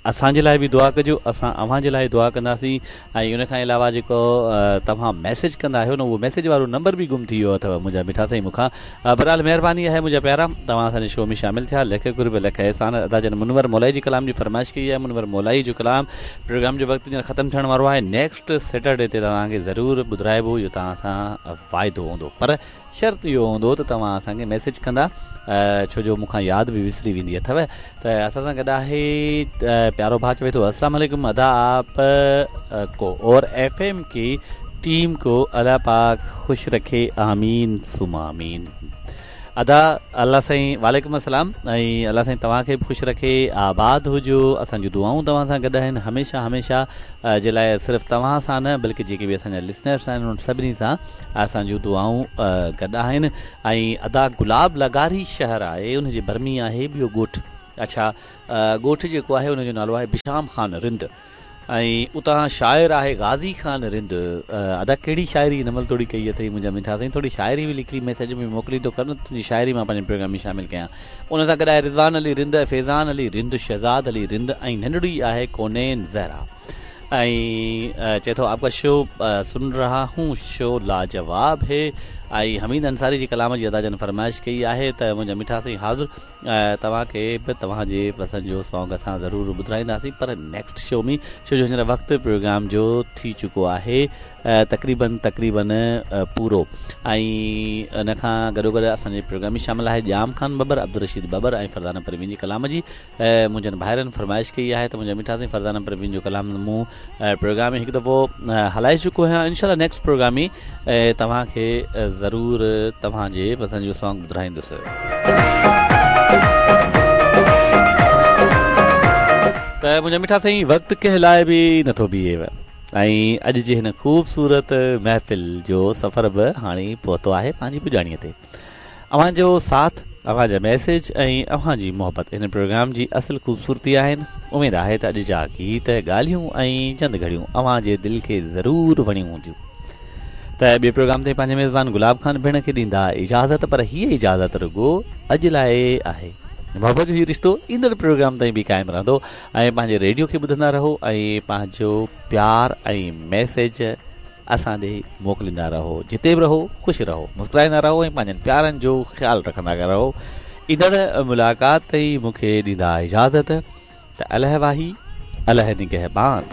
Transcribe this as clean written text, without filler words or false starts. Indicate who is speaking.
Speaker 1: اسان جي لاء به دعا ڪجو اسان اوهان جي لاء دعا ڪنداسين ۽ ان کان علاوه جيڪو توهان ميسيج ڪندا آهيو نه اهو ميسيج وارو نمبر به گم ٿي ويو اٿو منهنجا مٺا سائين مون کان بهرحال مهرباني آهي منهنجا پيارا توهان اسان جي شو ۾ شامل ٿيا لک قرب لک احسان ادا جن منور مولائي جي ڪلام جي فرمائش ڪئي آهي منور مولائي جو ڪلام پروگرام جو وقت هينئر ختم ٿيڻ وارو آهي نيڪسٽ سيٽرڊي تي توهان کي ضرور ٻڌرائبو اهو توهان سان واعدو هوندو پر شرط اهو هوندو ته توهان اسان کي ميسيج ڪندا ڇو جو مون کان ياد به وسري ويندي اٿو ته اسان سان گڏ آهي پيارو ڀاء چوي ٿو السلام عليڪم ادا آپ ڪو اور ايف ايم ڪي ٽيم ڪو الله پاڪ خوش رکي آمين ثم آمين ادا الله سائين وعليڪم السلام ۽ الله سائين توهان کي به خوش رکي آباد هجو اسان جون دعائون توهان سان گڏ آهن هميشه هميشه جي لاء صرف توهان سان نه بلڪه جيڪي به اسان جا لسنرس آهن انهن سڀني سان اسان جون دعائون گڏ آهن ۽ ادا گلاب لغاري شهر آهي ان جي ڀر ۾ آهي ٻيو ڳوٺ اڇا ڳوٺ جيڪو آهي ان جو نالو آهي بشام خان رند ۽ اتان شاعر آهي غازي خان رند ادا ڪهڙي شاعري هن مهل توڙي ڪئي اٿئي منهنجا مٺا سائين ٿوري شاعري به لکي ميسيج ۾ موڪليندو ڪر نه تنهنجي شاعري مان پنهنجي پروگرام ۾ شامل ڪيان ان سان گڏ آهي رضوان علي رند فيضان علي رند شهزاد علي رند ۽ ننڍڙي آهي ڪونين زهرا ۽ چئي ٿو آپ ڪا شو سن رها هون شو لاجواب هي ۽ حميد انصاري جي ڪلام جي ادا جن فرمائش ڪئي آهي ته منهنجا مٺا سائين حاضر توهان کي به توهان جي پسند جو سانگ اسان ضرور ٻڌرائينداسين پر نيڪسٽ شو ۾ ڇو جو هينئر وقت پروگرام جو ٿي چڪو آهي تقريبن تقريبن پورو ۽ ان کان گڏو گڏ اسان جي پروگرام ۾ شامل آهي ڄام خان ٻٻر عبدالرشيد ٻٻر ۽ فرزانه پروين جي ڪلام جي منهنجن ڀائرن فرمائش ڪئي آهي ته منهنجا مٺا سائين فرزانه پروين جو ڪلام مون پروگرام ۾ هڪ دفعو هلائي چڪو آهيان انشاء الله نيڪسٽ پروگرام ۾ توهان کي ضرور توهان جي پسند جو سانگ ٻڌرائيندس. ته منهنجا مٺا سائين وقت ڪنهن لاء به نٿو بيهي ۽ اڄ جي هن خوبصورت محفل جو سفر به هاڻي پهتو آهي پنهنجي پڄاڻيء تي. اوهان جو ساٿ، اوهان جا ميسيج ۽ اوهان جي محبت هن پروگرام جي اصل خوبصورتي آهن. اميد آهي ته اڄ جا گيت، ڳالهيون ۽ چند گهڙيون اوهان جي دل کي ضرور وڻيون هونديون. ته ٻئي پروگرام تائين پنهنجي ميزبان گلاب خان ڀيڻ کي ڏيندا اجازت پر هيء اجازت رڳو اڄ لاء آهي. محبت جو هي رشتو ايندڙ پروگرام تائين به قائم رهندو ۽ پنهنجي ريڊيو کي ٻڌندا رهو ۽ پنهنجو پيار ۽ ميسيج اسان ڏي موڪليندا رهو جتي به رهو خوش رهو مسڪرائيندا رهو ۽ پنهنجن پيارن جو خيال رکندا رهو ايندڙ ملاقات تائين مون کي ڏيندا اجازت ته الهه واهي الهه نگهبان.